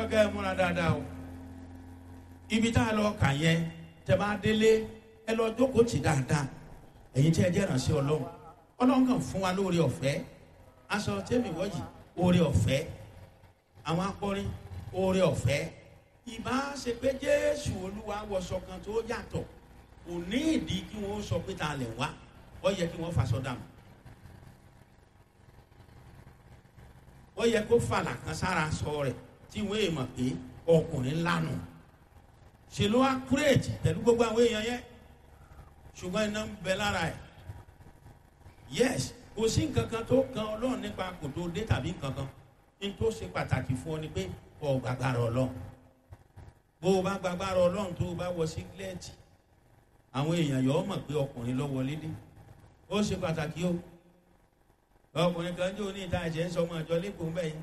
fẹ́ kẹ́ ẹ múra dáadáa o. Ibi tá a lọ kà yẹn, tẹ́ bá délé, ẹ lọ jókòó tì dáadáa. Ẹ̀yin tí ẹ jẹ́ ìrànṣẹ́ Ọlọ́run, Ọlọ́run kàn fún wa lóore ọ̀fẹ́. Aṣọ tẹ́mi wọ́jì, oore ọ̀fẹ́. Àwọn akọrin, oore ọ̀fẹ́. Ìbá ṣe pé Jésù Olúwa wọṣọ kan tó yàtọ̀, kò ní ìdí kí wọ́n sọ pé ta lẹ̀ wá. Ó yẹ kí wọ́n faṣọ dànù. Ó yẹ kó fàlà kan sára sọ rẹ̀ tí wọ́n èèmọ̀ pé ọkùnrin lánà. Ṣe ló wá kúrèjì pẹ̀lú gbogbo àwọn èèyàn yẹn, ṣùgbọ́n iná ń bẹ lára ẹ̀. Yes, kò sí nǹkan kan tó kan Ọlọ́run nípa kò tó dé tàbí nǹkan kan. Ní tó ṣe pàtàkì fún ọ ni pé ọ gbàgbára Ọlọ́run. Bó o bá gbàgbára Ọlọ́run, tó o bá wọ sígílẹ́ẹ̀tì, àwọn èèyàn yọ ọ mọ̀ pé ọkùnrin ló wọlé dé. Ó ṣe pàtàkì o. Ọkùnrin kan jẹ́ oní ìta ẹ̀jẹ̀ ń sọ ọmọ ìjọ lẹ́kọ̀ọ́ mbẹ́ yẹn.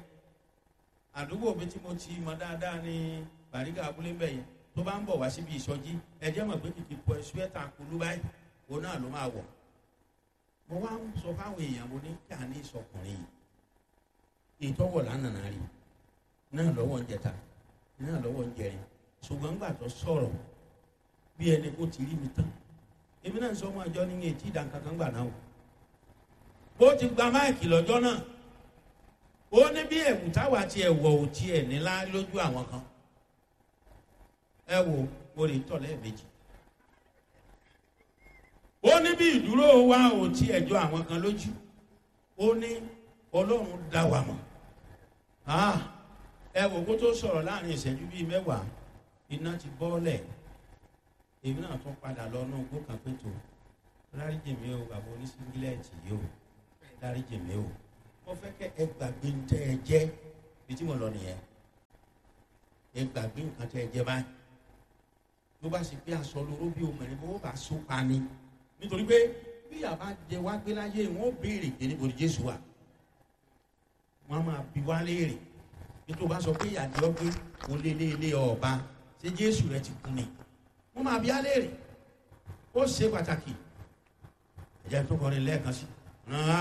Àdúgbò mi tí mo ti mọ dáadáa ní Bàrígà abúlé mbẹ́ yẹn, tó bá ń bọ̀ wá síbi ìsọjí, ẹjẹ́ mọ̀ pé kìkì pọ̀ ṣúẹ́tà kulú báyìí, òun náà ló máa wọ̀. Mo wá ń sọ fáwọn èèyàn, mo ní kí a ní ìsọkùnrin yìí, ìtọ́wọ̀ lánàá rí náà lọ́wọ́ ń jẹta náà lọ́wọ́ ń jẹrin. Ṣùgbọ́n gbà tó sọ̀rọ̀ bí ẹni kó ti rí mi tán, èmi náà ń sọ ọmọ àjọ ní etí ìdánkankan gbà náà o. Bó ti gba máìkì lọ́jọ́ náà, ó ní bí ẹ̀wù táwa ti ẹ̀wọ̀ ò tiẹ̀ nílá lójú àwọn kan. Ẹ wo, mo lè tọ̀ lẹ́ẹ̀mejì. Ó ní bí ìdúró wa ò tí ẹjọ́ àwọn kan lójú. Ó ní Ọlọ́run dá wa mọ̀. Ẹ wò kó tó sọ̀rọ̀, láàrin ìṣẹ́jú bíi 10, iná ti bọ́ọ̀lẹ̀. Èmi náà tún padà lọ inú igbó kan pé tó dáríjì mi o, bàbá oníṣíngílẹ̀tì yìí o, dáríjì mi o. Mo fẹ́ kẹ́ ẹ gbàgbé ń tẹ́ ẹ jẹ́ bí tí mo lọ nìyẹn. Ẹ gbàgbé nǹkan tẹ́ ẹ jẹ́ báyìí. Ló bá sì pé aṣọ lóró bí obìnrin bó bá so pa ni, nítorí pé bí àbá jẹ wá gbé láyé, wọn ó béèrè pé níbo ni Jésù wà. Wọn máa bi wá léèrè bí tó bá sọ pé ìyàdí ọgbẹ kò lé lé lé ọba, ṣé Jésù rẹ ti kú ni? Wọn máa bi á léèrè. Ó ṣe pàtàkì. Ẹ̀jẹ̀ tó kọrin lẹ́ẹ̀kan sí.